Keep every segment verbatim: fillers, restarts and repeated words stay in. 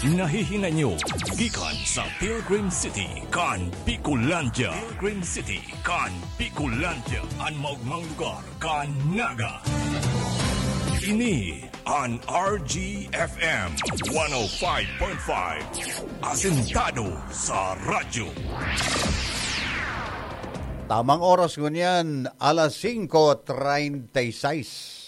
Nahihinay nyo gikan sa Pilgrim City kan Bicolandia. Pilgrim City kan Bicolandia, an maogmang lugar kan Naga. Ini an R G F M one oh five point five, asentado sa radyo. Tamang oras ngunyan, alas singko treinta y seis.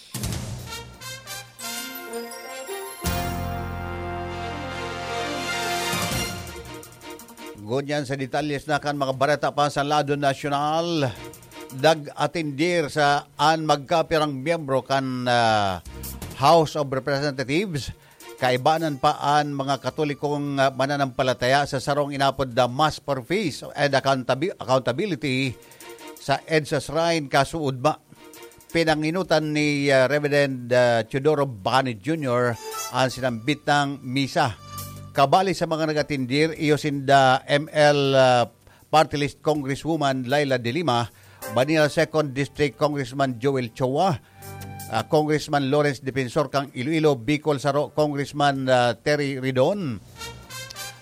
Ngunyan sa detalyes na kan mga bareta pa sa lado nasyonal, nag-atindir sa an magkapirang miyembro kan, ah, House of Representatives, kaibanan pa an mga Katolikong, ah, mananampalataya sa sarong inapod na Mass for Peace and Accountabi-, Accountability sa EDSA Shrine, kasuodma. Pinanginutan ni, ah, Reverend, ah, Teodoro Bani Junior an sinambit nang misa. Kabali sa mga nag-atindir, iyo sinda M L, ah, Party List Congresswoman Leila de Lima, Manila Second District Congressman Joel Chua, ah, Congressman Lawrence Defensor kang Iloilo, Bicol Saro, Congressman, ah, Terry Ridon,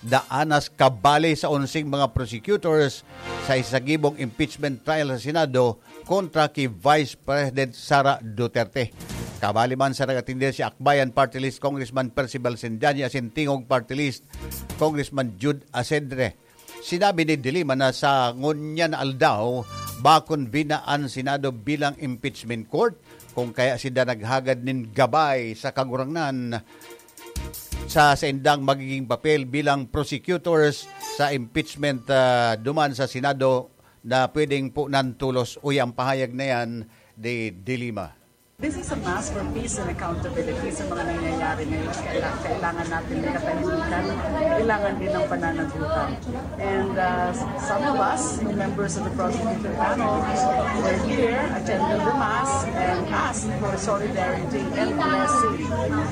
daanas kabali sa onseng mga prosecutors sa isagibong impeachment trial sa Senado kontra ki Vice President Sara Duterte. Kabali man sa nag-atindir si Akbayan Party List Congressman Percival Sinjani asin Tingog Party List Congressman Jude Asedre. Sinabi ni De Lima na sa ngunyan na aldaw, bakon bina an Senado bilang impeachment court, kung kaya sinda naghagad nin gabay sa Kagurangnan sa saindang magiging papel bilang prosecutors sa impeachment, ah, duman sa Senado na pwedeng punan tolos. Uya ang pahayag na yan ni De Lima. This is a mass for peace and accountability sa mga nangyayari ngayon. Kaila-, kailangan natin ng katahimikan, kailangan din ng pananagutan. And, uh, some of us, members of the prosecutor panel, were here, attended the mass, and asked for solidarity and blessing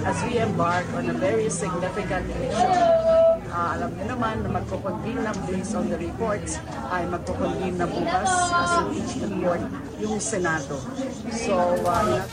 as we embark on a very significant mission. Uh, alam niyo naman na magko-convene na, based on the reports, ay magko-convene na bukas as an H P court yung Senado. So, uh,